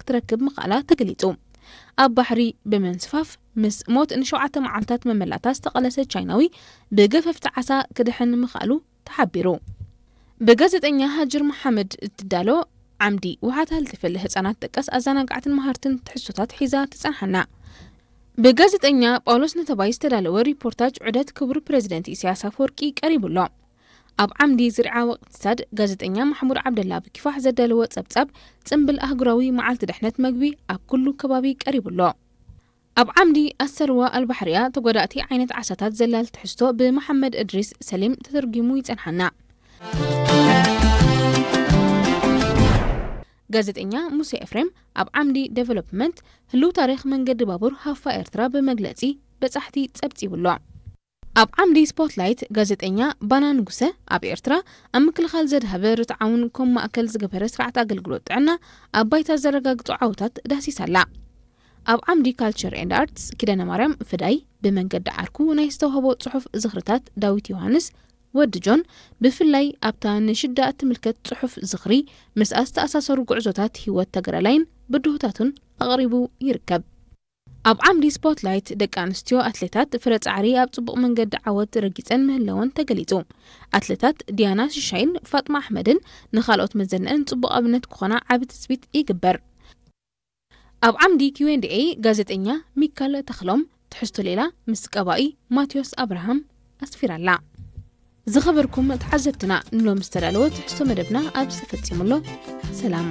ክትረክብ ምኽኣላ ተገሊጹ። ኣብ ባሕሪ ብምንስፋፍ ምስ ሞት ንሸውዓተ መዓልታት መመላእታ ዝተቐለሰ ቻይናዊ ብገፈፍቲ ዓሳ ክድሕን ምኽኣሉ ተሓቢሩ። ብጋዜጠኛ ሃጅር መሓመድ እትዳሎ ዓምዲ ውሓት ሃልትፍል ህጻናት ጠቀስ ኣዘናጋዕትን መሃርትን ትሕዝቶታት ሒዛ ትጸንሓና። ብጋዜጠኛ ጳውሎስ ነተባይ ዝተዳለወ ሪፖርታጅ ዑደት ክቡር ፕሬዚደንት ኢሳያስ ኣፈወርቂ ቀሪቡ ኣሎ። ኣብ ዓምዲ ዝርዓ ወቅትሳድ ጋዜጠኛ ማሕሙድ ዓብደላ ብኪፋሕ ዘዳለወ ጸብጻብ ጽምብል ኣህጉራዊ መዓልቲ ድሕነት መግቢ ኣብ ኩሉ ከባቢ ቀሪቡ ኣሎ። ኣብ ዓምዲ ኣሰርዋ ኣልባሕርያ ተጎዳእቲ ዓይነት ዓሳታት ዘላል ትሕዝቶ ብመሓመድ እድሪስ ሰሊም ተተርጒሙ ይጸንሓና። ጋዜጠኛ ሙሴ ኤፍሬም ኣብ ዓምዲ ዴቨሎፕመንት ህልው ታሪኽ መንገዲ ባቡር ሃፋ ኤርትራ ብመግለጺ በጻሕቲ ጸብጺቡ ኣሎ። ኣብ ዓምዲ ስፖትላይት ጋዜጠኛ ባና ንጉሰ ኣብ ኤርትራ ኣብ ምክልኻል ዘድሃበ ርትዓውን ከም ማእከል ዝገበረ ስርዓት ኣገልግሎት ጥዕና ኣብ ባይታ ዘረጋግጹ ዓወታት ዳህሲሳ ኣላ። ኣብ ዓምዲ ካልቸር ኤንድ ኣርትስ ኪዳነ ማርያም ፍዳይ ብመንገዲ ዓርኩ ናይ ዝተዋህቦ ጽሑፍ ዝኽርታት ዳዊት ዮሃንስ ወዲ ጆን ብፍላይ ኣብታ ንሽዳ እትምልከት ጽሑፍ ዝኽሪ ምስኣ ዝተኣሳሰሩ ጉዕዞታት ህይወት ተጋዳላይን ብድሆታቱን ኣቕሪቡ ይርከብ። ኣብ ዓምዲ ስፖትላይት ደቂ ኣንስትዮ ኣትሌታት ፍረ ጻዕሪ ኣብ ጽቡቕ መንገዲ ዓወት ረጊጸን ምህለወን ተገሊጹ። ኣትሌታት ዲያና ሽሻይን ፋጥማ ኣሕመድን ንኻልኦት መዘነን ጽቡቕ ኣብነት ክኾና ዓቢ ትጽቢት ይግበር። ኣብ ዓምዲ ኪው ኤንድ ኤ ጋዜጠኛ ሚካል ተኽሎም ትሕዝቶ ሌላ ምስ ቀባኢ ማቴዎስ ኣብርሃም ኣስፊራላ። ዝኸበርኩም ተዓዘብትና ንሎም ዝተዳለወ ትሕዝቶ መደብና ኣብዚ ተፈጺሙ ኣሎ። ሰላም።